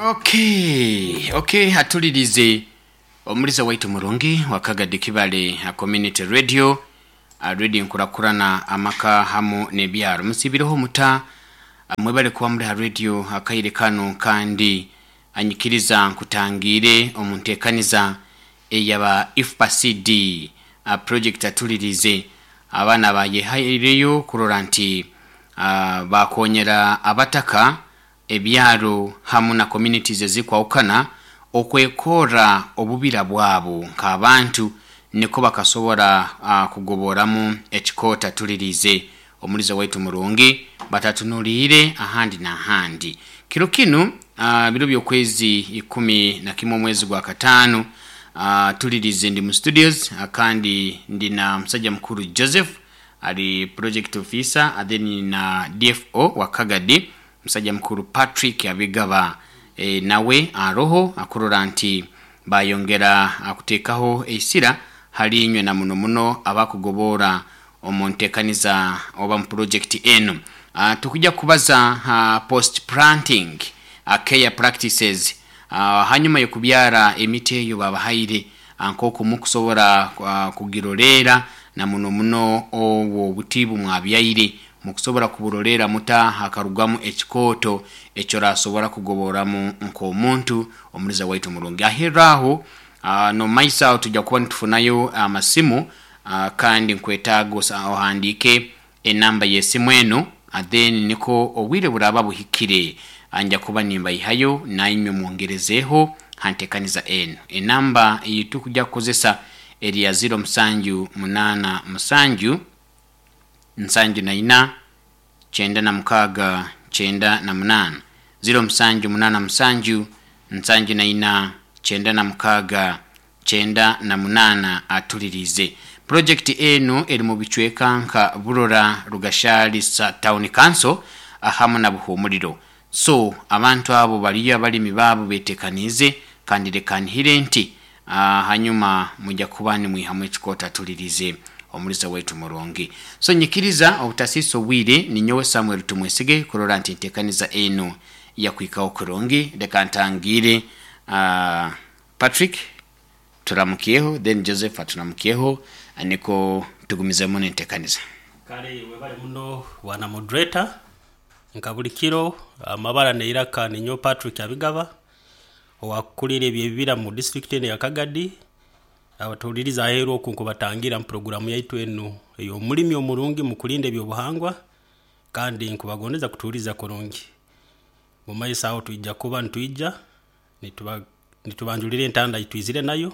Okay, atulirize omuliza waitu murungi wa Kagadi Kibale Community Radio, radio nkurakurana amaka hamu n'ebyaro. Musibireho muta, mwebale kuba muri ha radio akaire kano, kandi anyikiriza nkutangire omu nteekaniza eyaba IFPA-CD project. Atulirize abaana bayehaireyo kurora nti bakonyera abataka, ebyaro hamu na communities ezikwahukana okwekora obubira bwabo nk'abantu, niko bakasobora kugoboramu ekikota. Tulirize omuliza waitu murungi, batatunuliire ahandi n'ahandi. Kiro kinu, biro by'okwezi 11 omwezi gwa 5, tulirize ndi mu studios, kandi ndi na musajja mukuru Joseph, ali project officer, then na DFO wa Kagadi, musajja mukuru Patrick Abigaba, nawe aroho akurora nti bayongera akuteekaho eisira hali inywe na muno muno abakugobora omu nteekaniza oba mu project enu. Tukujja kubaza post planting care practices, hanyuma y'okubyara emiti eyo babahaire, nk'oku mukusobora kugiroleera, na muno muno obwo obuti bumwabyaire mukusobora kuburoleera muta hakarugamu ekikooto ekyorasobora kugoboramu nk'omuntu. Omuliza waitu murungi, aherra aho, nomumaiso aho tujja kuba nitufunayo amasimu, kandi nkwetaaga ohandiike enamba y'esimu enu, then niko obwire buraba buhikire nja kuba nimbaihayo nainywe mwongerezeeho ha nteekaniza enu. Enamba ei tukujja kukozesa eri ya 0787 74 96 98, 0787 74 96 98. Atulirize project enu eri mu bicweka nka Burora, Rugashali Town Council hamu na Buhumuriro. So abantu abo baliyo abalimi baabo betekaniize, kandi leka nhire nti hanyuma mujja kuba nimwihamu ekikota. Tulirize omuliza waitu murungi, so nyikiriza obutasiisa obwire, ninyowe Samuel Tumwesige kurora nti ntekaniza enu yakwikaho kurungi. Leka ntangire Patrick turamukyeho, then Joseph aturamukyeho, niko tugumizemu nentekaniza. Kale webale muno bwana moderator. Nka buli kiro, amabara neiraka ninyo Patrick Abigaba, owakukulira ebyebibira mu district eno ya Kagadi. Abatuhuliriza aheeru oku, nkubatangira mu programu yaitu enu ey'omulimi omurungi mu kulinda ebyobuhangwa, kandi nkubagondeza kutuhuliriza kurungi. Mu maiso aho twija kuba nitwija nitubanjulira entanda itwizire nayo.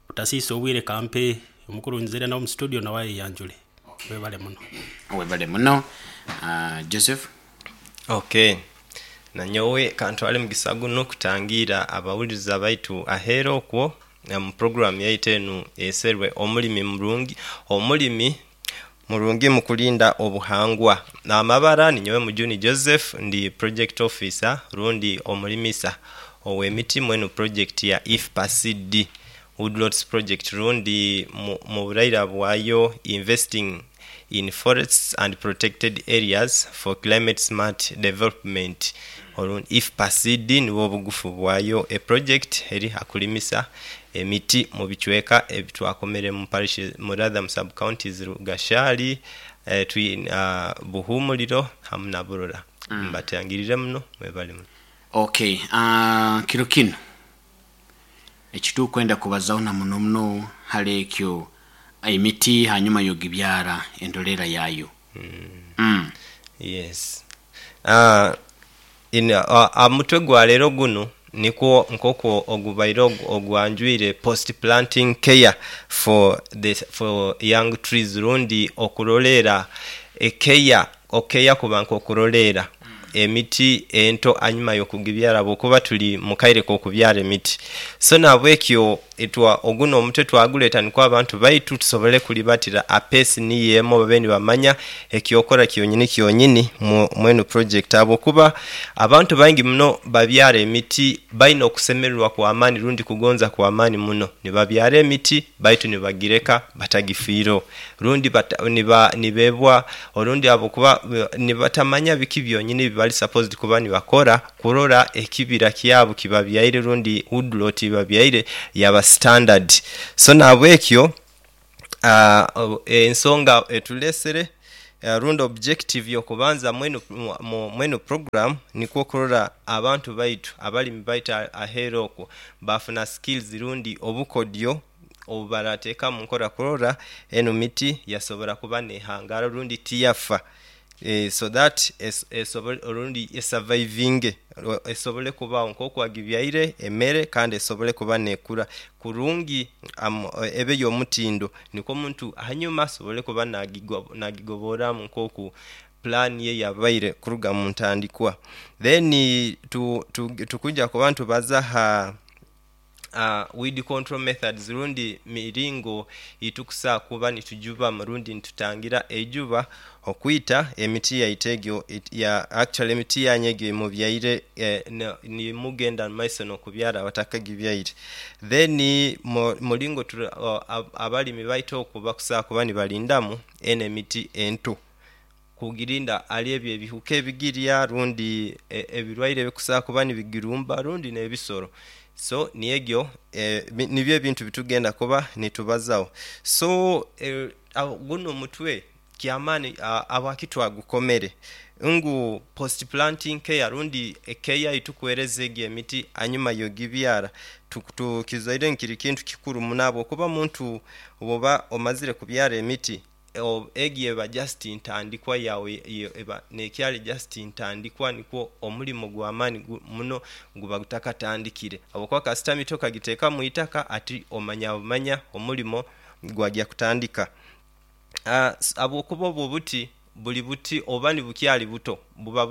Butasiisa obwire, kampe omukuru nzire nawe mu studio nawe ayeyanjule. Webale muno. Webale muno, Joseph. Okay. Nanyowe kantwale mugisa gunu kutangiira abawuliriza baitu aheeru okwo mu program yaitu enu eserwe omulimi murungi, omulimi murungi mu kulinda obuhangwa. Amabara ninyowe Mujuni Joseph, ndi project officer rundi omulimisa ow'emiti mwenu project ya IFPA-CD Woodlots project, rundi mu buraira bwayo Investing in Forests and Protected Areas for Climate Smart Development. Orundi IFPA-CD nibwo obugufu bwayo. E project eri hakulimisa emiti mu bicweka ebitwakomere mu parish, mu rather mu sub counties Rugashali, Buhumuliro hamu na Burora. Mbatangirire muno, mwebale muno. Okay, kiro kinu ekitukwenda kubazaho na muno muno hali ekyo emiti hanyuma yogibyara, endolera yayo. Yes. Omutwe gwa leero gunu nikwo nk'oku ogubaire ogwanjwire post planting care for the for young trees, rundi okuroleera ekeya, okeya kuba nk'okuroleera emiti ento anyuma y'okugibyara, habwokuba tuli mu kaire k'okubyara emiti. So nahabwekyo oguno omutwe twaguleta nikwo abantu baitu tusobole kulibatira apesi niyo emo, babe nibamanya ekyokora kyonyini kyonyini mwenu project, habwokuba abantu baingi muno babyara emiti baine okusemererwa kw'amaani rundi kugonza kw'amaani muno. Nibabyara emiti baitu nibagireka batagifiireho, rundi nibebwa, orundi habwokuba nibatamanya biki byonyini. bali supposed kuba nibakora kurora ekibira kyabo kibabyaire rundi woodlot ibabyaire yaba standard. So nabwekyo ensonga etulesere rundi objective yokubanza mwenu program nikwo kurora abantu baitu abalimi baitu ahera okwo bafuna skills rundi obukodyo obubarateeka mu nkora kurora eno miti yasobora kuba nehangara rundi tiyafa, so that rundi esurvivinge, esobole kubaho nk'oku agibyaire emere, kandi esobole kuba nekura kurungi, ebe y'omutindo, nikwo omuntu hanyuma asobole kuba nagigoboramu nk'oku plan ye yabaire kuruga mu ntandikwa. Then tukuja kuba ntubaza ha weed control methods rundi miringo itukusa kuba nitujuba rundi nitutangira ejuba okwita emiti yaitu egyo ya actually emiti yanyu egyo mubyaire, nimugenda mumaiso n'okubyara abatakagibyaire. Then mulingo abalimi baitu okwo bakusa kuba nibalindamu eno emiti ento kugirinda ali ebyo ebihuka ebigirya rundi ebirwaire ebikusa kuba nibigirumba rundi n'ebisoro. So niegyo nibyo ebintu bitugenda kuba nitubazaho. So guno omutwe kyamaani, abaki twagukomere ngu post planting care rundi care itukuhereza egyo emiti hanyuma yogibyara, tukizoire nkiri kintu kikuru muno, habwokuba omuntu oba omazire kubyara emiti egyo eba just ntandikwa yawe, eba nekyali just ntandikwa, nikwo omulimo gw'amaani muno guba gutakatandikire, habwokuba kasita miti okagiteeka mu itaka ati omanya bumanya omulimo gwajya kutandika, habwokuba obwo obuti buli buti oba nibukyali buto buba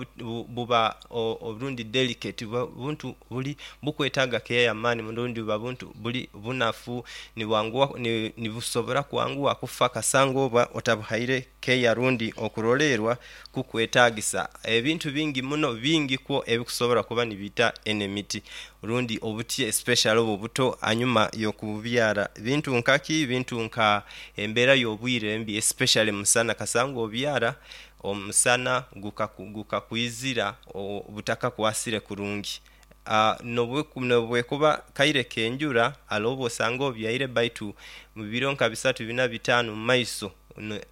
buba orundi delicate, buba buntu buli bukwetaaga care y'amaani muno, rundi buba buntu buli bunafu, nibwanguha, nibusobora kwanguha kufa kasanga oba otabuhaire care rundi okurolerwa kukwetagisa. Ebintu bingi muno bingi kwo ebikusobora kuba nibita eno emiti rundi obuti, especially obu obuto hanyuma y'okububyara. Bintu nkaki? Bintu nka embeera y'obwire embi, especially musana, kasanga obyara omusana gukakwizira butakakwasire kurungi, nobwekuba kaire k'enjura hariho obu osanga obyaire baitu mu biro nka bisatu bina bitaano mu maiso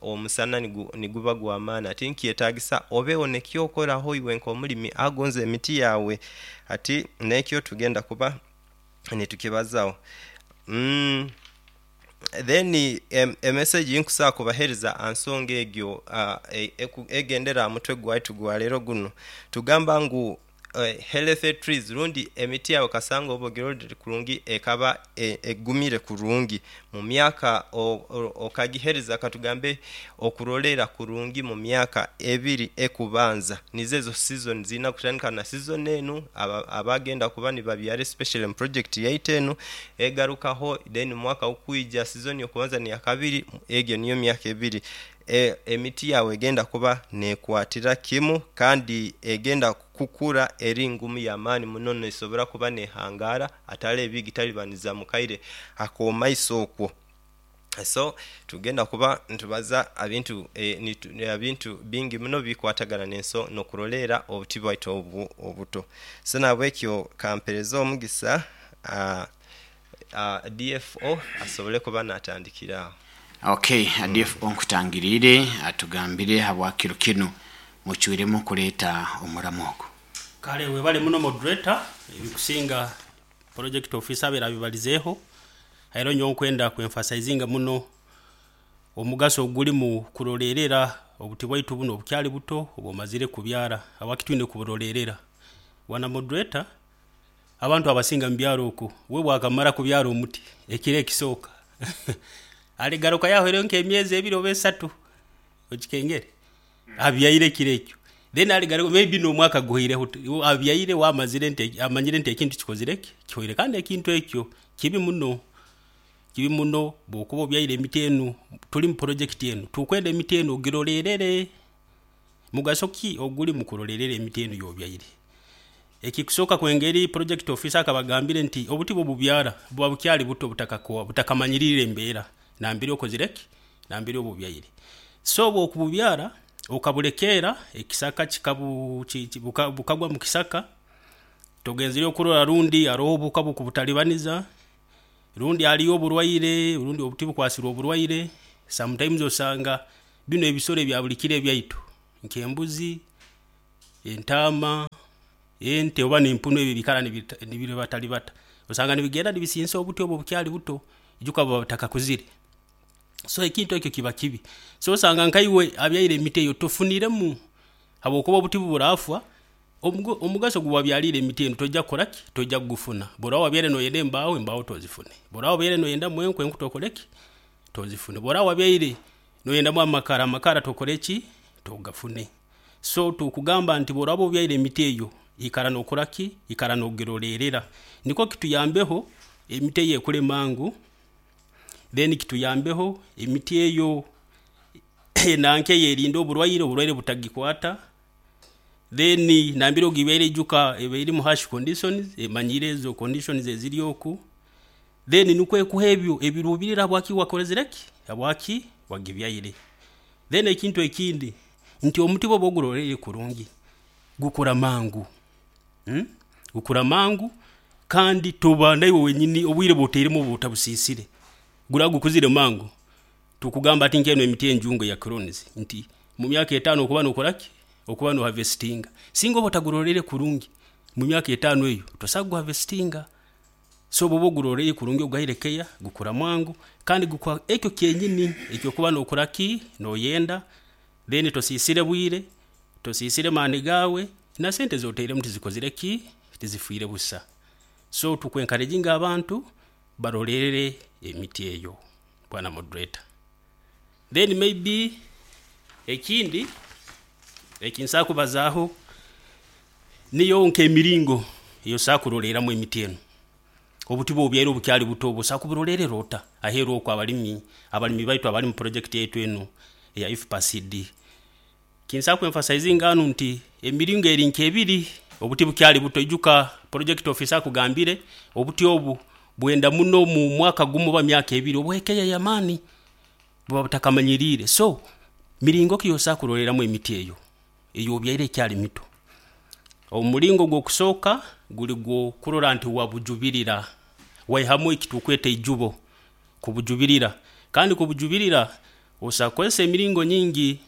omusana niguba gw'amaani, ati nikyetagisa obeho nekyokoraho iwe nk'omulimi agonza emiti yawe, ati nekyo tugenda kuba nitukibazaho. Then emessage nkusobola kubahereza aha nsonga egyo egendera aha mutwe gwaitu gwa leero guno, tugamba ngu healthy trees rundi emiti yawe kasanga oba ogirorire kurungi ekaba egumire kurungi mu myaka okagihereza katugambe okurorera kurungi mu myaka ebiri ekubanza, nizo ezo season ziina kutandika na season enu abagenda kuba nibabyara especially mu project yaitu enu egarukaho, then omwaka ogukwija season y'okubanza n'eyakabiri, egyo niyo myaka ebiri emiti yawe egenda kuba nekwatira kimu kandi egenda kukura eri ngumu y'amaani muno, nesobora kuba nehangara atari ebigitalibaniza mu kaire ak'omumaiso okwo. So tugenda kuba nitubaza abintu ebintu bingi muno bikwatagana n'enso n'okurorera obuti bwaitu obu obuto. So nahabwekyo kampereze omugisa DFO asobole kuba natandikira aho. Okay, DFO nkutangiriire atugambire habwakiro kinu mucwiremu kuleeta omuramu ogu. Kale webale muno moderator, ebikusinga project officer abaire abibalizeeho, era nyowe nkwenda kwemphasizinga muno omugaso ogulimu kurolerera obuti bwaitu buno obukyali buto obwomazire kubyara, habwaki twine kuburolerera. Bwana moderator, abantu abasinga mu byaro oku we bwakamara kubyara omuti ekiro ekisooka aligaruka yahweireho nk'emyezi ebiri oba esatu okikengere abyaire ekiro ekyo, then aligaruka maybe n'omwaka guhweireho abyaire wamazire nti amanyire nti ekintu kikozire ki kihoire, kandi ekintu ekyo kibi muno, kibi muno. Bwokuba obyaire emiti enu, tuli mu project enu, tukwenda emiti enu ogirolerere. Mugaso ki oguli mu kurolerera emiti enu y'obyaire? Ekikusooka kwengeri project officer akabagambire nti obuti bwobubyara buba bukyali buto, butakamanyirire embeera nambere okozire ki nambere obubyaire. So obwokububyara Okabulekeera ekisaka kikabu bukagwa mu kisaka, togenzere okurora rundi haroho obuhuka bukubutalibaniza, rundi haliyo oburwaire, rundi obuti bukwasirwe oburwaire. Sometimes osanga binu ebisoro ebya buli kiro ebyaitu nk'embuzi, entaama, ente oba n'empunu, ebi ebiikara nibiribatalibata, osanga nibigenda nibisiisa obuti obu obukyali buto, ijuka buba butakakuzire. So ekintu eki kiba kibi. So osanga nka iwe abyaire emiti eyo tofuniremu habwokuba obuti obu burafa, omugaso ogu wabyaliire emiti enu toija kukora ki, toija kugufuna. Obu oraaba wabyaire noyenda embaaho, embaaho tozifune. Obu oraaba wabyaire noyendamu enku, enku tokore ki, tozifune. Obu oraaba wabyaire noyendamu amakara, amakara tokore ki, togafune. So tukugamba nti obu oraaba obyaire emiti eyo, ikara nokora ki, ikara nogiroleerra nikwo kituyambeho emiti eyo ekure mangu, then kituyambeho emiti eyo enanka eyerinde oburwaire, oburwaire butagikwata, then nambere ogibyaire ijuka eba eri mu harsh conditions, emanyiire ezo conditions eziri oku, then nikwo ekuhe ebi ebiruubirirwa habwaki wakozire ki, habwaki wagibyaire. Then ekintu ekindi nti omuti obu oba oguroleriire kurungi, gukura mangu, gukura mangu kandi toba naiwe wenyini obwire obu otairemu oba otabusiisire, guraba gukuzire mangu. Tukugamba hati nk'enu emiti enjungu eya clones nti mu myaka etaano okuba nokora ki, okuba no harvestinga. Singa oba otaguroliire kurungi, mu myaka etaano eyo tosobola kugu harvestinga. So obu oba oguroleriire kurungi oguhaire care, gukura mangu kandi gukuha ekyo kyenyini eki okuba nokora ki, noyenda, then tosiisire bwire, tosiisire maani gaawe, na sente ezi otairemu tizikozire ki, tizifwire busa. So tuku encouraginga abantu baroleerre emiti eyo bwana moderator. Then maybe ekindi eki nsobola kubazaaho niyo nk'emiringo ei osobola kurolerramu emiti enu. Obuti obu obyaire bukyali buto, osobola kuburoleerra ota aheeru oku abalimi, abalimi baitu abali mu project yaitu enu eya IFPA-CD? Eki nsobola ku emphasizinga hanu nti emiringo eri nk'ebiri, obuti bukyali buto, ijuka project officer akugambire, obuti obu bwenda muno mu mwaka gumu oba myaka ebiri obuhe care y'amaani, buba butakamanyiriire. So miringo ki ei osobola kurolerramu emiti eyo ei obyaire ekyali mito? Omuringo ogw'okusooka guri gw'okurora nti wabujubirira, waihamu eki tukweta eijubo, kubujubirira. Kandi kubujubirira osobola kukozesa emiringo nyingi,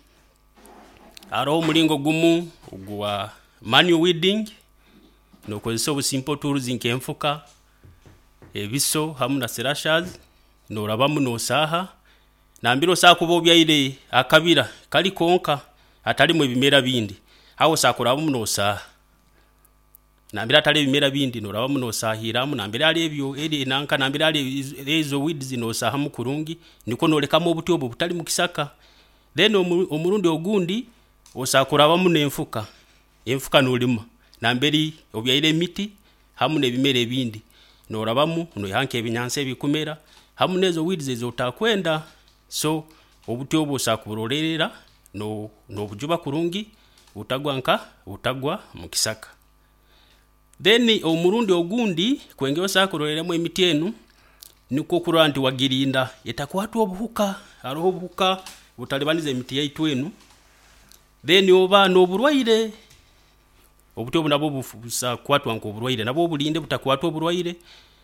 haroho omuringo gumu ogwa manual weeding, nokozesa obu simple tools nk'enfuka, ebiso hamu na slashers, norabamu nosaaha, nambere osobola kuba obyaire akabira kari konka hatarimu ebimera bindi, aho osobola kurabamu nosaaha. Nambere hatari ebimera bindi norabamu nosaahiramu, nambere hariho ebyo eri nanka nambere hariho ezo weeds nosaahamu kurungi nikwo nolekamu obuti obu obutari mukisaka. Then omurundi ogundi osobola kurabamu n'enfuka, enfuka norima nambere obyaire emiti hamu n'ebimera ebindi, norabamu noihaho nk'ebinyansi ebikumera hamu n'ezo weeds ezi otakwenda. So obuti obu osobola kuburoleerra nobujuba kurungi butagwa nka, butagwa mukisaka. Then omurundi ogundi kwengera osobola kurolerramu emiti enu, nikwo kurora nti wagirinda etakwatwa obuhuka. Haroho obuhuka butalibaniza emiti yaitu enu, then oba n'oburwaire, obuti obu nabwo busobola kukwatwa nk'oburwaire, nabwo obulinde butakwatwa oburwaire.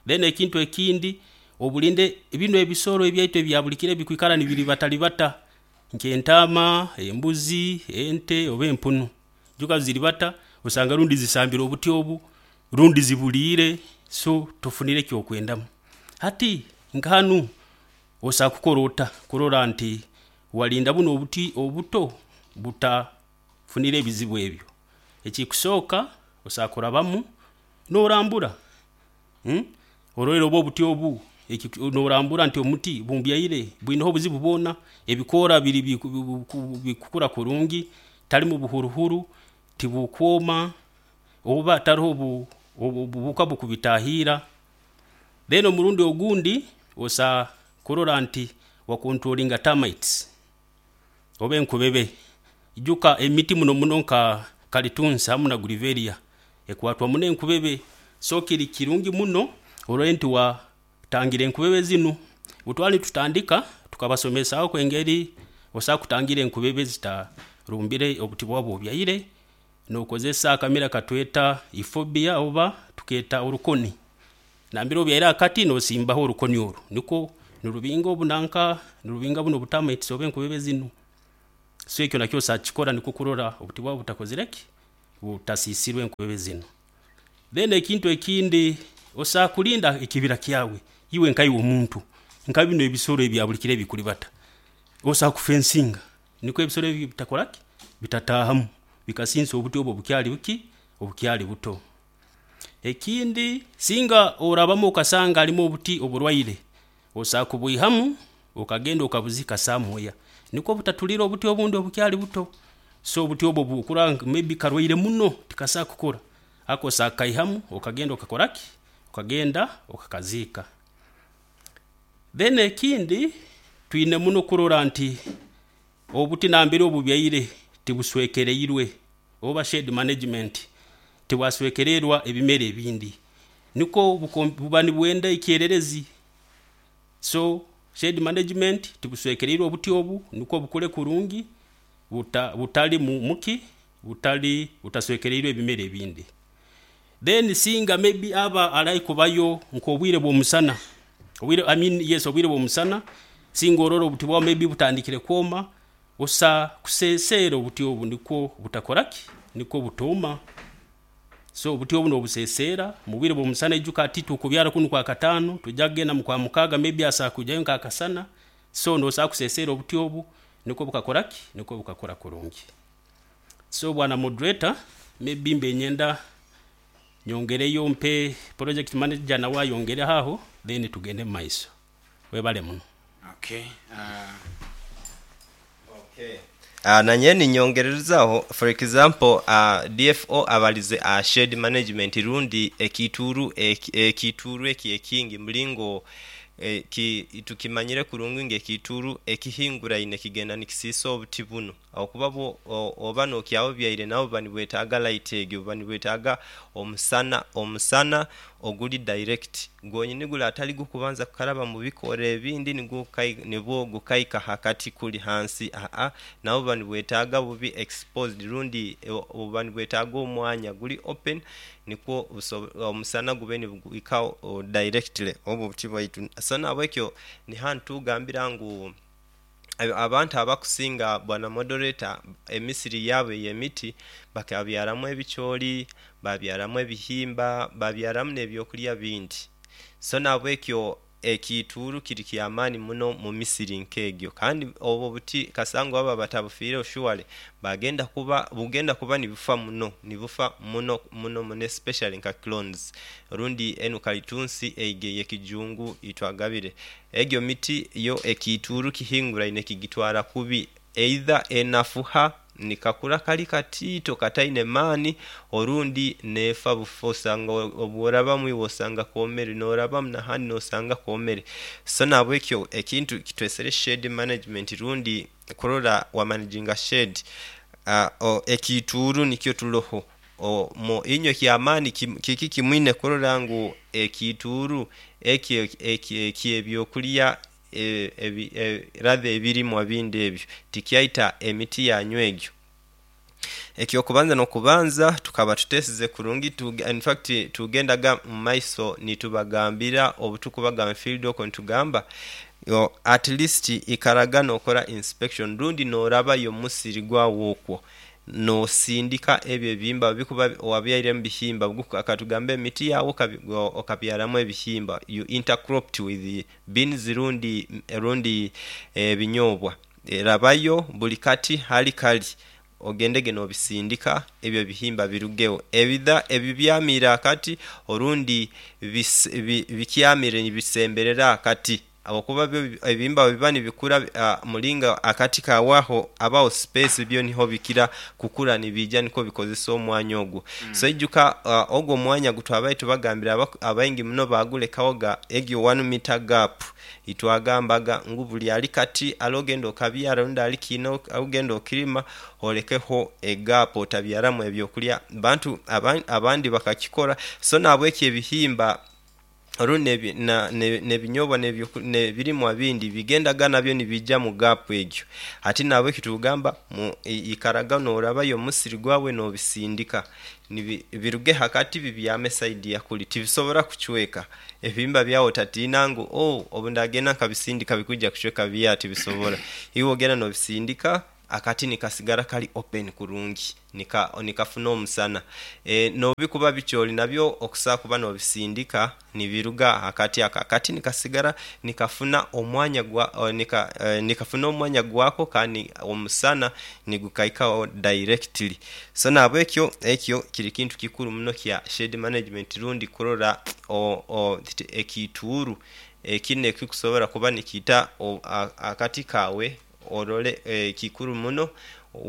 Then ekintu ekindi, obulinde binu ebisoro ebyaitu ebya buli kiro ebikwikara nibiribatalibata nk'entaama, embuzi, ente oba empunu. Ijuka ziribata, osanga rundi zisambire obuti obu, rundi zibuliire, so tofunire eki okwendamu. Hati nka hanu osobola kukora ota kurora nti warinda bunu obuti obuto butafunire ebizibu ebyo? Ekikusooka osobola kurabamu norambura, orole oba obuti obu, norambura nti omuti ogu mbyaire bwineho obuzibu bwoona, ebikoora biri bikukura kurungi, tiharimu buhuruhuru, tibukwoma, oba taroho obuhuka bukubitaahiira. Then omurundi ogundi osobola kurora nti wa controllinga termites oba enkubebe. Ijuka emiti muno muno nka kalitunsi hamu na grevillea ekwatwa muno enkubebe, so kiri kirungi muno orole nti watangira enkubebe zinu. Obu twali nitutandika tukabasomesaaho engeri osobola kutangira enkubebe. Rumbire obuti bwawe obyaire nokozesa akamira katweta euphorbia oba tuketa orukoni. Nambire obyaire akati nosimbaho orukoni oru nikwo nirubinga obunanka nirubinga bunu obu termites oba enkubebe zinu. So ekyo nakyo osobola kukikora nikwo kurora obuti bwawe butakozire ki, butasisirwe enkubebe zinu. Then ekintu ekindi, osobola kulinda ekibira kyawe iwe nkaiwe omuntu, nka binu ebisoro ebya buri kiro ebikuribata, osobola kufencinga nikwo ebisoro ebi bitakoraki, bitataahamu bikasiisa obuti obu obukyari buki, obukyari buto. Ekindi, singa orabamu okasanga harimu obuti oburwaire, osobola kubwihamu okagenda okabuziika somewhere nikwo butatulira obuti obundi obukyari buto. So obuti obu obu okurora ngu maybe karwaire muno tikasobola kukura, ako osobola kukaihamu okagenda okakoraki, okagenda okakaziika. Then ekindi, twine muno kurora nti obuti nambere obubyaire tibuswekereirwe oba shade management, tibwaswekererwa ebimera ebindi nikwo buba nibwenda ekyererezi. So shade management tibuswekereirwe obuti obu nikwo bukure kurungi butari muki, butari butaswekereirwe ebimera ebindi. Then singa maybe aba ari kubayo nk'obwire bw'omusana, obwire, I mean yes, obwire bw'omusana, singa orora obuti bwawe maybe butandikire kwoma, osobola kuseeseera obuti obu nikwo butakoraki, nikwo butooma. So obuti obu nobuseeseera mubwire bw'omusana, ijuka hati tukubyara kunu Kwakataano, tujya kugenda mu Kwamukaaga maybe asobola kwijayo nk'akasana, so nosobola kuseeseera obuti obu nikwo bukakoraki, nikwo bukakura kurungi. So bwana moderator, maybe mbe nyenda nyongereyo mpe project manager nawe ayongereho aho, then tugende mumaiso. Webale muno. Okay. Okay. Nanye ninyongererezaaho, for example, DFO abalize aha shade management rundi ekiituuru ekiituuru eki ekingi mulingo tukimanyire kurungi ngu ekiituuru ekihinguraine kigenda nikisiisa obuti bunu. Ahabw'okuba bwo oba nokyaba obyaire nabwo buba nibwetaaga light egyo, buba nibwetaaga omusana, omusana oguri direct gwonyini gule atari gukubanza kukaraba mu bikoora ebindi nigwo nibwo gukaika aha kati kuri hansi aa, nabwo buba nibwetaaga bubi exposed rundi buba nibwetaaga omwanya guri open nikwo omusana gube niguhikaho directly obwo obuti bwaitu. So nahabwekyo niha nitugambira ngu abantu abakusinga bwana moderator emisiri yaabo ey'emiti bakabyaramu ebicoori, babyaramu ebihimba, babyaramu n'ebyokulya bindi. So nahabwekyo ekiituuru kiri kyamaani muno mu misiri nk'egyo kandi obwo obuti kasangwa baba batabufiireho surely bagenda kuba bugenda kuba nibufa muno nibufa muno muno muno especially nka clones rundi enu kalitunsi egyo ey'ekijungu itwagabire. Egyo miti yo ekiituuru kihinguraine kigitwara kubi, either enafuha ni kakura kali katiito kataine maani, orundi n'efa bufa osanga obworabamu iwe osanga koomere, n'orabamu n'ahandi n'osanga koomere. So nahabwekyo ekintu kitwesere shade management rundi kurora wamanaginga shade, ekiituuru nikyo turoho. Inywe eky'amaani kiki kimwine kurora ngu ekiituuru ekyo eky'ebyokulya rather ebirimwa bindi ebyo tikyaita emiti yanyu egyo. Eky'okubanza n'okubanza tukaba tutesize kurungi, in fact tugendaga mu maiso nitubagambira obutukubaga mu field okwo nitugamba at least ikaraga n'okora inspection rundi n'orabayo mu musiri gwawe okwo n'osindika ebyo ebihimba bikuba wabyairemu bihimba, katugambe emiti yawe okabyaramu ebihimba, you intercropped with beans rundi rundi ebinyoobwa. Rabayo buli kati hali kali ogendege n'obisindika ebyo ebihimba birugeho. Ebidha ebibyamiire akati orundi bikyamire nibisemberera akati ahabw'okuba byo ebihimba bwebiba nibikura mulinga akati kawaho abaho space byo niho bikira kukura nibiija nikwo bikozesa omwanya ogwo. So ijuka ogwo omwanya gutwabaire tubagambira abaingi muno bagulekawoga egyo one meter gap. Itwagambaga ngu buli ali kati ale ogenda okabyara rundi ali kiina ogenda okirima olekeho egaapu otabyaramu ebyokulya. Bantu abandi bakakikora so nahabwekyo ebihimba. Orundi n'ebinyobwa n'ebirimwa bindi bigendaga nabyo nibijja mu gap egyo. Hati nahabweki tugamba ikaraga norabayo omusiri gwawe nobisindika biruge hakati bibyame saidi yakuli, tibisobora kucweka ebihimba byawe. Otatiina ngu oh obu ndagenda nkabisindika bikwija kucweka, biya tibisobora. Iwe ogenda nobisindika akati nikasigara kali open kurungi, nikafuna omusana. Nobikuba bikyoli nabyo okusobola kuba nobisindika nibiruga hakati ako, akati nikasigara nikafuna omwanya gwa nikafuna omwanya gwako kandi omusana nigukaikaho directly. So nahabwekyo ekyo kiri kintu kikuru muno kya shade management rundi kurora ekiituuru ekinu ekikusobora kuba nikiita akati kaawe, orole kikuru muno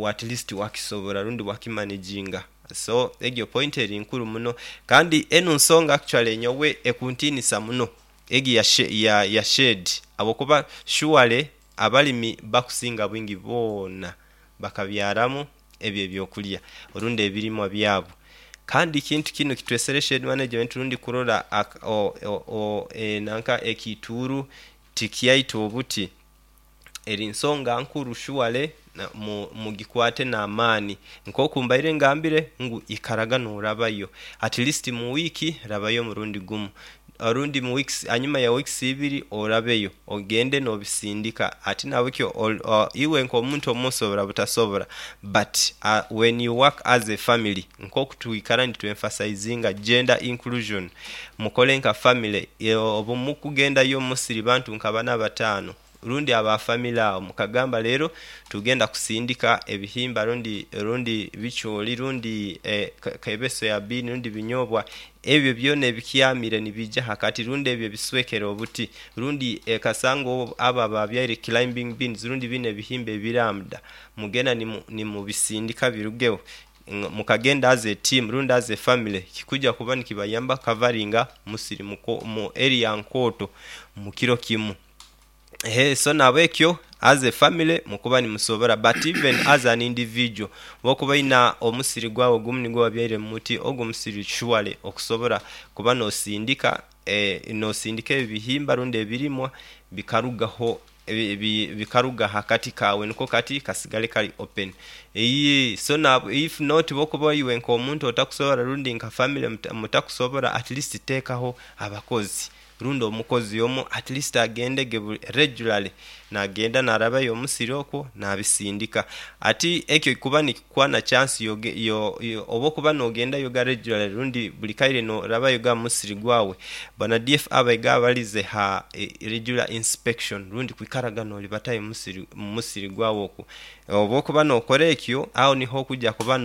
at least wakisobora rundi wakimanaginga. So egyo point eri nkuru muno kandi enu nsonga actually nyowe ekuntiinisa muno egi ya shade habwokuba surely abalimi bakusinga bwingi boona bakabyaramu ebyo ebyokulya orundi ebirimwa byabo. Kandi ekintu kinu kitwesere shade management rundi kurora nanka ekiituuru tikyaita obuti, eri nsonga nkuru surely mugikwate n'amaani. Nk'oku mbaire ngambire ngu ikaraga norabayo at least mu wiiki rabayo omurundi gumu orundi mu weeks, hanyuma ya weeks ibiri orabeyo ogende nobisindika. Ati nahabwekyo iwe nk'omuntu omu osobora butasobora, but when you work as a family, nk'oku twikara nitu emphasizinga gender inclusion, mukole nka family. Obu mukugendayo omu musiri bantu nka bana bataano rundi aba family awo, mukagamba leero tugenda kusindika ebihimba rundi bicooli rundi kaibe soya bean rundi binyobwa, ebyo byona ebikyamire nibiija hakati rundi ebyo ebiswekere obuti rundi kasanga abo ababyaire climbing beans rundi binu ebihimba ebiranda, mugenda nimubisindika birugeho mukagenda as a team rundi as a family, kikuja kuba nikibayamba kukavaringa musiri mu area nkooto mu kiro kimu. So nahabwekyo as a family mukuba nimusobora, but even as an individual bwokuba oina omusiri gwawe gumu nigwo wabyaire mumuti, ogu omusiri surely okusobora kuba nosindika nosindika ebihimba rundi ebirimwa bikarugaho bikaruga hakati kawe niko kati kasigale kali open. So if not bwokuba iwe nkomuntu otakusobora rundi nka family mutakusobora, at least tekaho abakozi rundi omukozi omu at least agendege regularly nagenda narabayo omusiri okwo nabisindika. Ati ekyo kikuba nikikuwa na chance oba okuba nogendayoga regularly rundi buli kaire norabayoga mumusiri gwawe, bana DF abaiga abalize ha regular inspection rundi kwikaraga nolibatayo mumusiri gwawe okwo. Oba okuba nokora ekyo, agho niho okuja kuba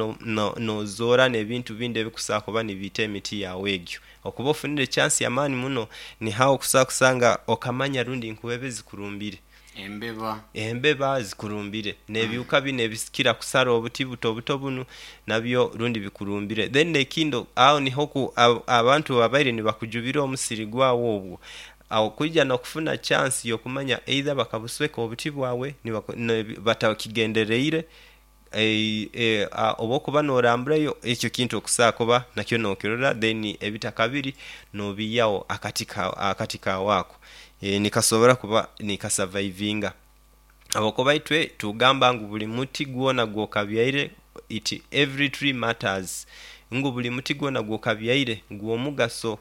nozoora n'ebintu bindi ebikusobola kuba nibiita emiti yawe egyo. Okuba ofunire chance ya maani muno, ni agho okusobola kusanga okamanya rundi nkuba zikurumbire. Embeba. Embeba zikurumbire. N'ebihuka bino ebikira kusara obuti buto buto bunu nabyo rundi bikurumbire. Then ekindi agho niho abantu babaire nibakujubira omusiri gwawe obwo, agho kwija n'okufuna chance y'okumanya either bakabusweka obuti bwawe batakigendereire, oba okuba noramburayo ekyo ekintu okusobola kuba nakyo nokirora, then ebitaka biri nobiiyawo akati kawe ako nikasobora kuba nikasavaivinga. Habwokuba itwe tugamba ngu buli muti gwona gwokabyaire, it every tree matters, ngu buli muti gwona gwokabyaire gwomugaso,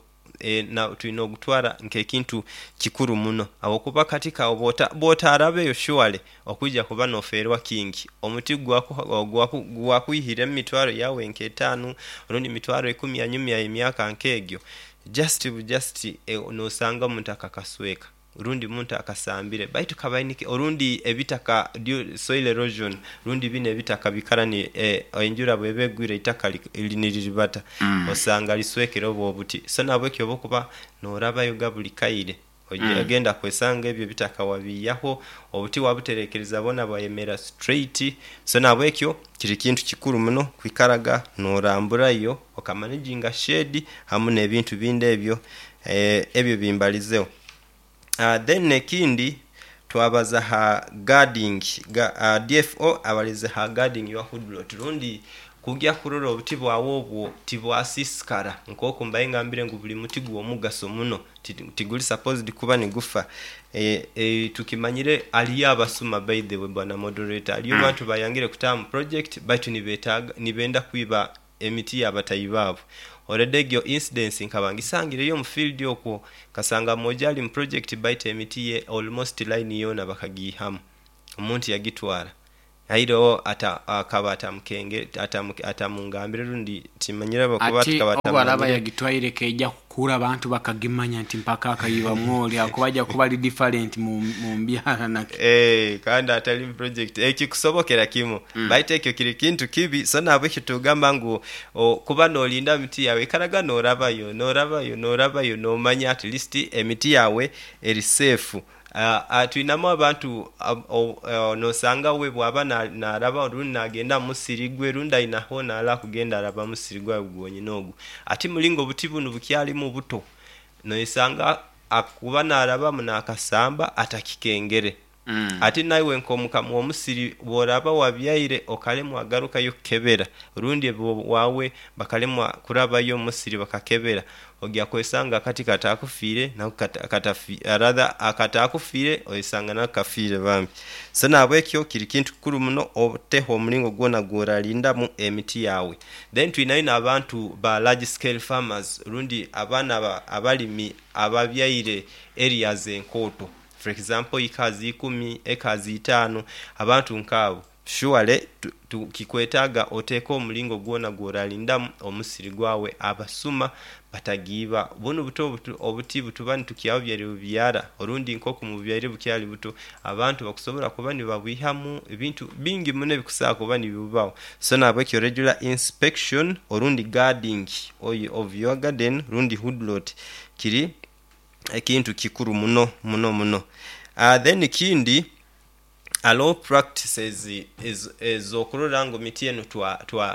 twine ogutwara nk'ekintu kikuru muno habwokuba kati kawe bwotarabeyo surely okwija kuba nofeerwa kingi. Omuti gwakwihiremu emitwaro yawe nk'etaanu rundi mitwaro ikumi anyuma y'emyaka nk'egyo, just bu just nosanga omuntu akakasweka rundi omuntu akasambire baitu kabaire orundi ebitaka soil erosion rundi binu ebitaka biikara enjura bweba egwire eitaka niliribata osanga liswekere obwo obuti. So nahabwekyo oba okuba norabayoga buli kaire ogenda kwesanga ebyo ebitaka wabiiyaho, obuti wabuterekereza bwona bwayemera straight. So nahabwekyo kiri kintu kikuru muno kwikaraga noramburayo okamanaginga shade hamu n'ebintu bindi ebyo ebyo bimbalizeho. Then ekindi twabaza ha guarding, DFO abalize ha guarding your woodlot rundi. Kugya kurora obuti bwawe obwo tibwasiisikara. Nk'oku mbaire ngambire ngu buli muti gw'omugaso muno, tiguli supposed kuba nigufa. Tukimanyire haliyo abasuma, by the way bwana moderator, haliyo bantu bayangire kutaaha mu project baitu nibetaaga nibenda kwiba emiti y'abatahi baabo. Already egyo incidence nkaba ngisangireyo omu field okwo, nkasanga mwojo ali mu project baitu emiti ye almost line yoona bakagiihamu, omuntu yagitwara. Aireho ata akaba atamukenge atamungambire rundi timanyire habwokuba Ati tukaba obu araba atamumanyire. yagitwaire keija kukura abantu bakagimanya nti mpaka akaibamu oli akuba aija kuba ali different mu mbyara naki. Kandi atali mu project ekikusobokera kimu. Baitu ekyo kiri kintu kibi, so nahabwekyo tugamba ngu kuba nolinda miti yawe, ikaraga norabayo, norabayo, norabayo nomanya at least emiti yawe eri safe. Twinamu abantu nosanga we bwaba naraba rundi nagenda mu musiri gwe rundi aina hoona hali akugenda araba musiri gwawe gwonyini ogwo. Ati mulingo obuti bunu bukyalimu buto, noyesanga akuba narabamu nakasamba atakikengere. Ati naiwe nk'omukama w'omusiri bw'oraba wabyaire okalemwa garukayo kukebera rundi wawe bakalemwa kurabayo omu musiri bakakebera, ogya kwesanga akati katakufiire nako rather akatakufiire oyesanga nako kafiire bambi. So nahabwekyo kiri kintu kikuru muno oteho omulingo gwona gw'oralindamu emiti yawe. Then twinayo n'abantu ba large scale farmers rundi abaana abalimi ababyaire areas enkooto, for example ekazi ikumi, ekazi itaanu, abantu nk'abo surely kikwetaaga oteeke omulingo gwona gw'oralindamu omusiri gwawe abasuma batagiiba. Bunu buto obuti butuba nitukyabubyara bubyara orundi nk'oku mububyaire bukyali buto, abantu bakusobora kuba nibabwihamu ebintu bingi muno ebikusobora kuba nibibubaho. So nahabwekyo regular inspection orundi guarding of your garden rundi woodlot kiri ekintu kikuru muno muno muno. Then ekindi haroho practices ez'okurora ngu miti enu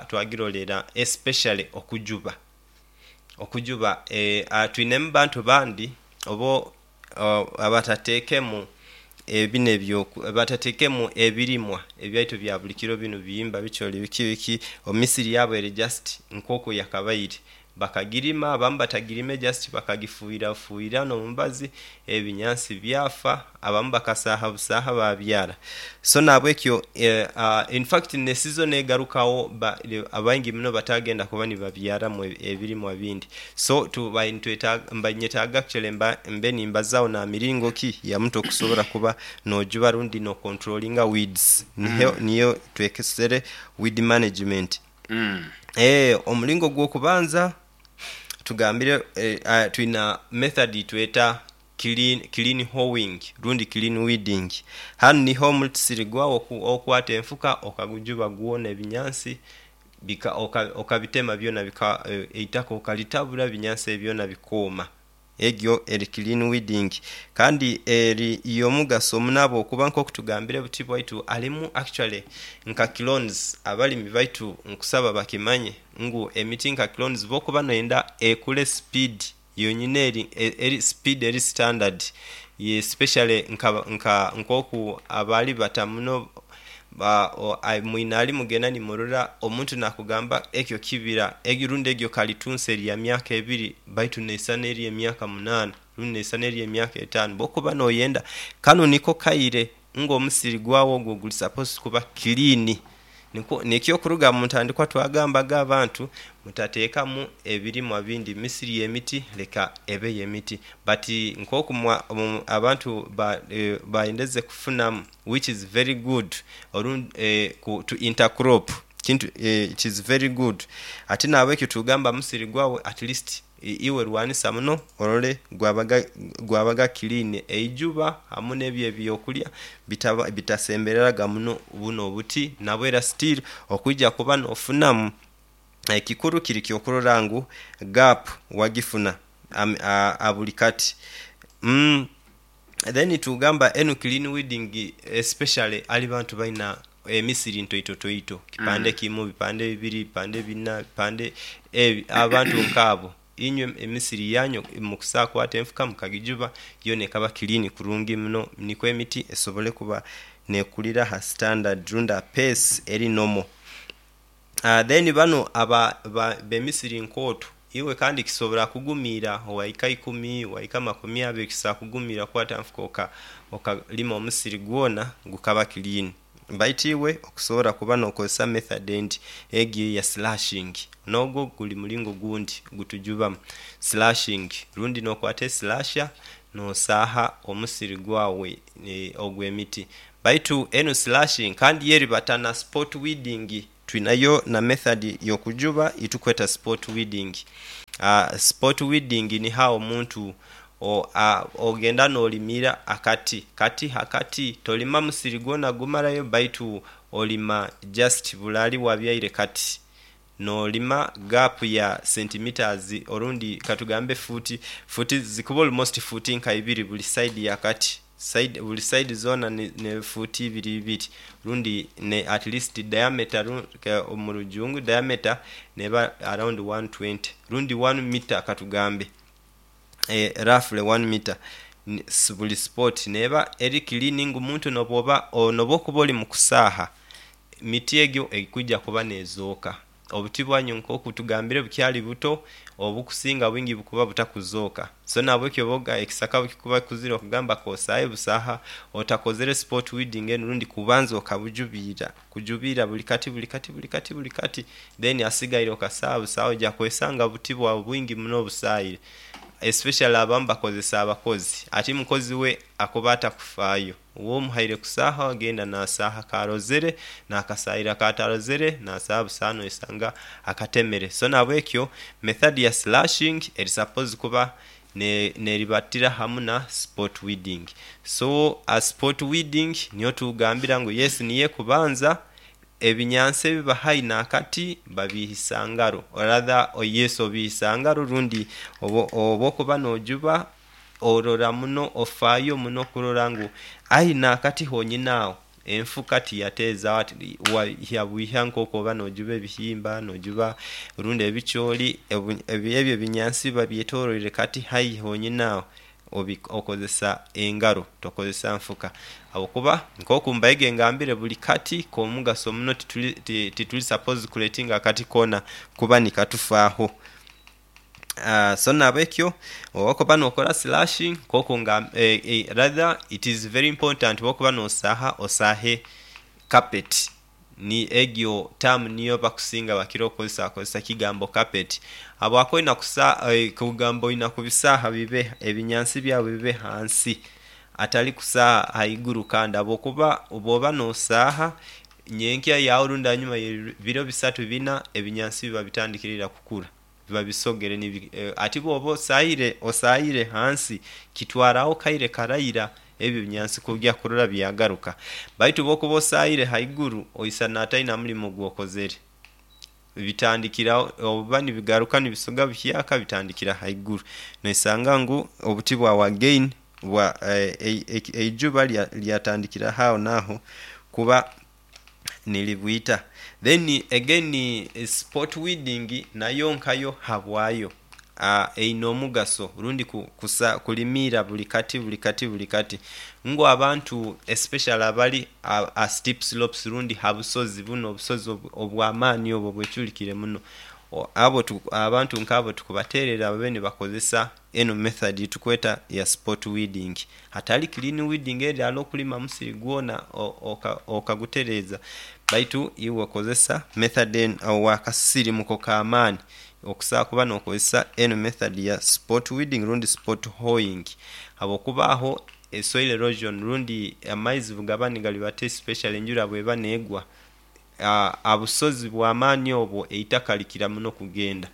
twagirolera especially okujuba. Okujuba twinemu bantu bandi obo abatateekemu binu batateekemu ebirimwa ebyaitu ebya buli kiro binu bihimba, bicooli biki biki, emisiri yaabu eri just nk'oku yakabaire. Bakagirima, abamu batagirime just bakagifuhirrafuhirra n'omubazi ebinyansi byafa, abamu bakasaaha busaaha babyara. So nahabwekyo infact ne season egarukawo abaingi muno batagenda kuba nibabyaramu ebirimwa bindi. So mba ninyetaaga actually mbe nimbazaaho na miringo ki ya muntu okusobora kuba nojuba rundi nokonturolinga weeds. Niyo twekesere weed management. Omulingo gw'okubanza tugambire twina method tweta clean hoeing rundi clean weeding. Hanu niho omusiri gwawe okwata enfuka okagujuba gwona ebinyansi okabitema byona eitaka okalitabura ebinyansi ebyo byona bikooma. Egyo eri clean weeding kandi eri y'omugaso muno ahabw'okuba nk'oku tugambire buti bwaitu harimu actually nka clones. Abalimi baitu nkusaba bakimanye ngu emiti nka clones bw'okuba noyenda ekure speed yonyini eri speed eri standard especially nk'oku abaali bata muno mwine ali mugenda nimurora omuntu nakugamba ekyo kibira rundi egyo kalitunsi eri ya myaka ebiri baitu neisana eri emyaka munaana rundi neisana eri emyaka etaano. Bw'okuba noyenda kanu niko kaire ngu omusiri gwawe ogwo guli supposed kuba clean. Nikyo okuruga mu ntandikwa twagambaga abantu mutateekamu ebirimwa bindi, misiri y'emiti leka ebe y'emiti but nk'oku abantu bayendeze kufunamu which is very good to intercrop kintu it is very good. Ati nahabwekyo tugamba musiri gwawe at least iwe lwanisa muno orole gwabaga clean, eijuba hamu n'ebyo ebyokulya bitasembereraga muno bunu obuti nabwo era still okwija kuba n'ofunamu. Ekikuru kiri ky'okurora ngu gap wagifuna buli kati. Then tugamba enu clean weeding especially ali bantu balina emisiri ntoitotoito, kipande kimu, bipande bibiri, bipande bina, bipande abantu nk'abo inywe emisiri yanyu mukusobola kukwata enfuka mukagijuba yoona ekaba clean kurungi muno nikwo emiti esobole kuba neekulira ha standard rundi ha pace eri normal. Then banu aba b'emisiri nkooto, iwe kandi kisobora kugumiira owaika 10, waika 20, kisobora kugumiira kukwata nfuka okalima omusiri gwona gukaba clean. Baitu iwe okusobora kuba n'okozesa method endi egyo eya slashing, n'ogwo guli mulingo gundi gutujubamu slashing rundi n'okwata esilasha n'osaaha omusiri gwawe ogw'emiti. Baitu enu slashing kandi yo eribata na spot weeding, twinayo na method y'okujuba yitukweta spot weeding. Spot weeding niho agho omuntu ogenda n'olimira akati kati hakati, tolima musiri gwona gumalayo baitu olima just bule ali wabyaire kati n'olima gaapu ya centimetres orundi katugambe fuuti, fuuti zikuba almost fuuti nka ibiri buli saidi ya kati. Side buli side zoona ni ni fuuti ibiri ibiri rundi ne at least diameter mu rujungu diameter neba around 120 rundi one mita katugambe roughly one mita buli spot neba eri clean ngu omuntu nobwoba nobwokuba ori mu kusaaha miti egyo ekwija kuba nezooka. Obuti bwanyu nk'oku tugambire bukyali buto, obukusinga bwingi bukuba butakuzooka. So nahabwekyo oba ekisaka bwekikuba kikuzire okugamba k'osaahe busaaha otakozere spot weeding enu rundi kubanza okabujubiira, kujubiira buli kati buli kati buli kati buli kati then asigaire okasaaha busaaha oja kwesanga obuti bwawe bwingi muno obusaayire. Especially abamu bakozesa abakozi, ati mukozi we akuba atakufaayo. W'omuhaire kusaaha agenda n'asaaha k'arozere n'akasaayira k'atarozere n'asaaha busaaha noisanga akatemere. So nahabwekyo method ya slashing eri suppose kuba n'eribatira hamu na spot weeding. So spot weeding niyo tugambira ngu yes niyo ekubanza, ebinyansi ebiba haihi n'akati babiihisa ngaro or rather yes obiihisa ngaro rundi oba okuba n'ojuba orora muno ofaayo muno okurora ngu aye n'akati honyini agho enfuka tiyateezagho ati yabwiha nk'oku oba n'ojuba ebihimba, n'ojuba rundi ebicooli, ebyo ebinyansi biba byetoloire kati haihi honyini agho okozesa engaro tokozesa nfuka habwokuba nk'oku mbaire ngambire buli kati k'omugaso muno tituli suppose kuletinga akati koona kuba nikatufaaho. So nahabwekyo bwokuba nokola slashing nkoku nga rather it is very important bwokuba nosaaha osaahe carpet ni egyo term niyo abakusinga bakira okozesa bakozesa ekigambo carpet habwaki olina kugamba olina kubisaaha bibe ebinyansi byawe bibe ghansi atali kusaaha ghaigulu kandi habwokuba bwoba nosaaha nyenkya yaagho rundi anyuma ye biro bisatu bina ebinyansi biba bitandikire ira kukula. Biba bisogere ni ati bwoba osaire osaire ghansi kitwaragho kaire karaira ebyo ebinyansi kugya kurora byagaruka. Baitu bwokuba osaire ghaiguru oisana ataina mulimo gwokozere. Bitandikira oba nibigaruka nibisoga buhyaka bitandikira ghaiguru. Noisanga ngu obuti bwawe again bwa eijuba lyatandikira agho naagho kuba nilibwita. Then again spot weeding nayo nkayo habwayo eine omugaso rundi kusa kulimiira buli kati buli kati buli kati ngu abantu especially abali a steep slopes rundi ha busozi buno obusozi obw'amaani obwo obweculikire muno abo abantu nk'abo tukubateerera babe nibakozesa eno method yetukweta ya spot weeding. Hatali clean weeding eri ale okulima musiri gwona okagutereeza baitu iwe okozesa method eno owakasirimuko ka maani okusobola kuba n'okozesa eno method ya spot weeding rundi spot hoeing habwokuba agho soil erosion rundi amaizi bwegaba nigalibata especially enjura bweba negwa Abusozi bwa maani obwo eitaka likira muno kugenda,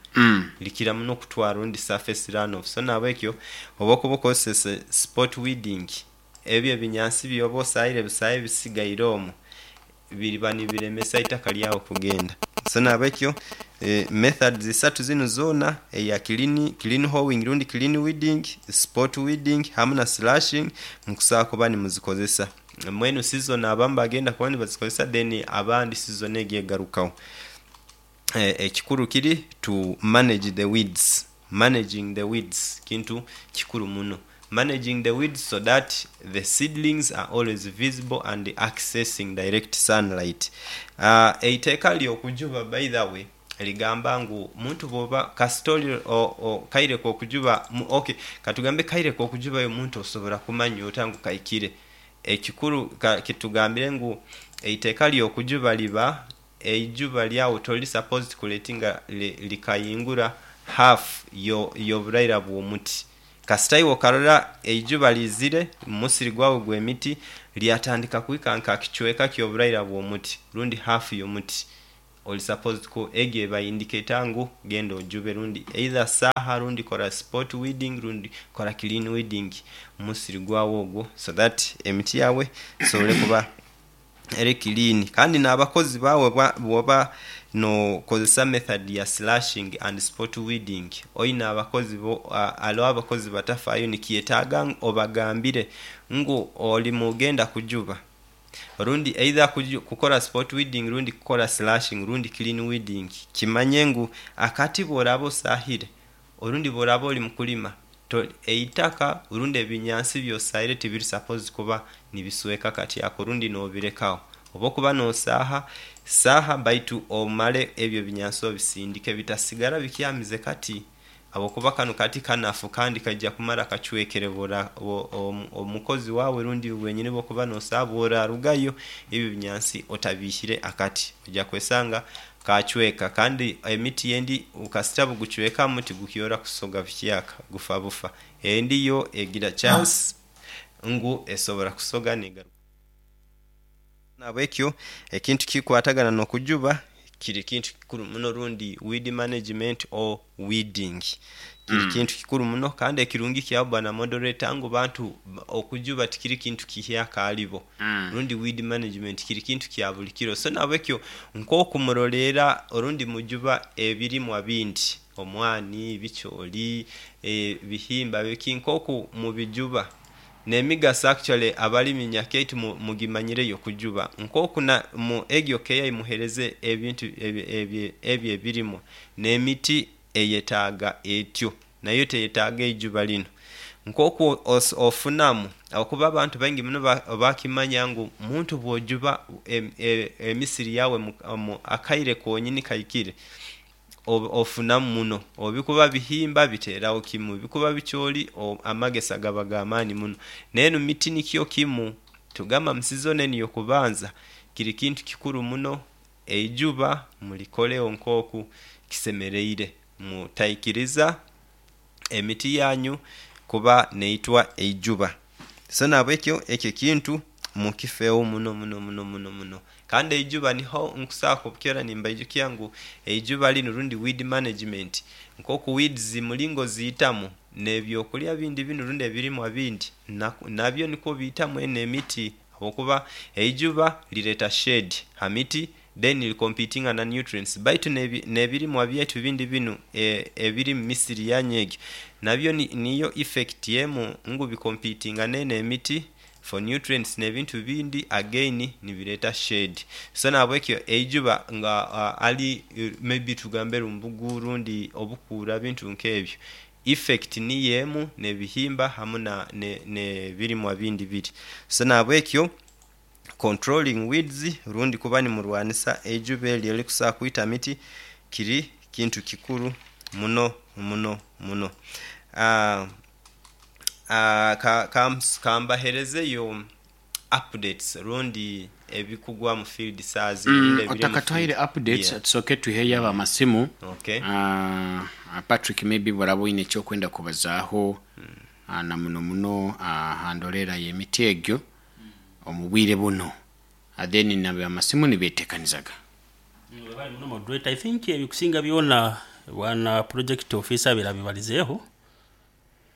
likira muno kutwala rundi surface run off. So nahabwekyo oba okuba okozesese spot weeding, ebyo ebinyansi byoba osaire busaye ebisigaire omwo biriba nibiremesa eitaka lyawo kugenda. So nahabwekyo methods isatu zinu zoona eya clean hoeing rundi clean weeding, spot weeding hamu na slashing mukusobola kuba nimuzikozesa. Mwenu sizoni abamu bagenda kuba nibazikozesa then abandi sizoni egyo egarukagho. Ekikulu kiri to manage the weeds, managing the weeds kintu kikulu muno. Managing the weeds so that the seedlings are always visible and accessing direct sunlight. Eiteeka ly'okujuba, by the way, ligamba ngu muntu bwoba kasita oli kaire k'okujuba, okay, katugambe kaire k'okujubayo, omuntu osobora kumanya ota ngu kaikire? Ekikuru kitugambire ngu eiteeka ly'okujuba liba eijuba lyawe toli supposed kuletinga likayingura half y'oburaira bw'omuti. Kasita iwe okarora eijuba liizire mu musiri gwawe gw'emiti, lyatandika kuhika nka kicweka ky'oburaira bw'omuti rundi half y'omuti, oli supposed ku egyo eba indicator ngu genda ojube, rundi either saaha, rundi kora spot weeding, rundi kora clean weeding mu musiri gwawe ogwo, so that emiti yawe esobole kuba eri clean. Kandi n'abakozi bawe bwoba nokozesa method ya slashing and spot weeding, oine abakozi bo, aliwo abakozi batafayo, nikyetaaga obagambire ngu oli mugenda kujuba, rundi either kukora spot weeding, rundi kukora slashing, rundi clean weeding. Kimanye ngu akati bworaba osahire, orundi bworaba oli mukulima, eitaka rundi ebinyansi byosahire tibiri supposed kuba nibisweka kati ako, rundi nobirekaho. Oba okuba nosaaha saaha, baitu omale ebyo ebinyansi obisindike, bitasigara bikyamize kati, habwokuba kanu kati kanafu kandi kaija kumara kacwekere. Omukozi wawe rundi wenyini bwokuba nosaaha, bworarugayo ebyo ebinyansi otabihire akati, ojja kwesanga kacweka. Kandi emiti endi kasita bugucwekamu tigukyora kusoga buhyaka, gufa bufa. Endi yo egira chance ngu esobora kusoga negaruka. Nabwekyo ekintu kikwatagana n'okujuba kiri kintu kikuru muno, rundi weed management or weeding kiri kintu kikuru muno. Kandi ekirungi kyawe, bwana moderator, ngu bantu okujuba tikiri kintu kihyaka alibo, rundi weed management kiri kintu kya buli kiro. So nabwekyo nk'okumuroleera orundi mujuba ebirimwa bindi, omwani, bikyoli, bihimba, biki, nk'oku mubijuba n'emigaso, actually abalimi nyakyaitu mugimanyireyo kujuba, nk'oku mu egyo keya imuhereze ebintu ebyo ebirimwa, n'emiti eyetaaga etyo, nayo teyetaaga eijuba lino nk'oku ofunamu, okuba abantu baingi muno bakimanya ngu muntu bw'ojuba emisiri yawe mu akaire konyini kaikire, ofunamu muno. Obikuba bihimba biteraho kimu, bikuba bikyoli amagesa gaba g'amaani muno. N'enu miti nikyo kimu, tugamba mu season enu y'okubanza kiri kintu kikuru muno, eijuba mulikoleho nk'oku kisemereire, mutaikiriza emiti yanyu kuba neitwa eijuba. So nabwekyo ekyo kintu mukifeeho muno muno muno muno muno. Kandi eijuba niho nkusobola kubukera nimbaijukya ngu eijuba linu rundi weed management, nk'oku weeds mulingo ziitamu n'ebyokulya bindi binu rundi ebirimwa bindi, nabyo nikwo biitamu eno emiti, habwokuba eijuba lireeta shade ha miti, then licompetinga na nutrients, baitu n'ebirimwa byaitu bindi binu ebiri mu misiri yanyu egyo nabyo niyo effect emu, ngu bicompetinga n'eno emiti for nutrients n'ebintu bindi, again nibireeta shade. So nabwekyo eijuba nga ali maybe tugambe rumbugu rundi obukuura, bintu nk'ebyo, effect niyo emu n'ebihimba hamu n'ebirimwa bindi biri. So nabwekyo controlling weeds rundi kuba nimurwanisa eijuba eryo erikusobola kwita miti kiri kintu kikuru muno muno muno. Kambaherezeyo updates rundi ebikugwa mu field saazi rundi ebiri mu Otakatwaire field. Updates, tusooke tuheyo abo amasimu. Okay. Patrick, maybe bworaba oine ekyokwenda kubazaaho, na muno muno ha ndolera y'emiti egyo omu bwire buno. Then nabo amasimu nibetekanizaga. Webale muno, moderator. I think ebikusinga byona bwana project officer birabibalizeeho,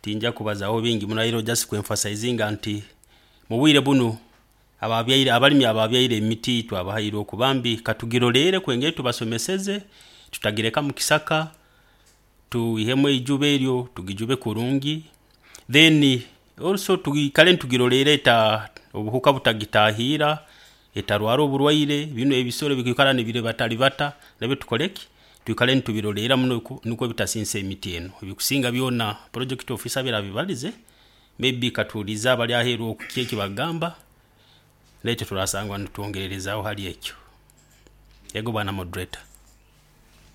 tinja kubazaho bingi muno, airo just kuemphasizinga nti mu bwire buno ababyaire, abalimi ababyaire emiti twabahaire okubambi katugirolere kwengeri tubasomeseze, tutagireka mu kisaka, tuihemu eijuba eryo, tugijube kurungi, then also tuikale nitugirolera eta obuhuka butagitahira, etarwara oburwaire bino ebisoro bikwikara nibiribatalibata, nabyo tukoleki, twikale nitubirolera muno nukwo bitasinsa emiti eno. Ebikusinga byona project officer birabibalize. Maybe katuulize abali aheeru oku ki eki bagamba, naitwe turasangwa nitwongererezaaho hali ekyo. Ego bwana moderator.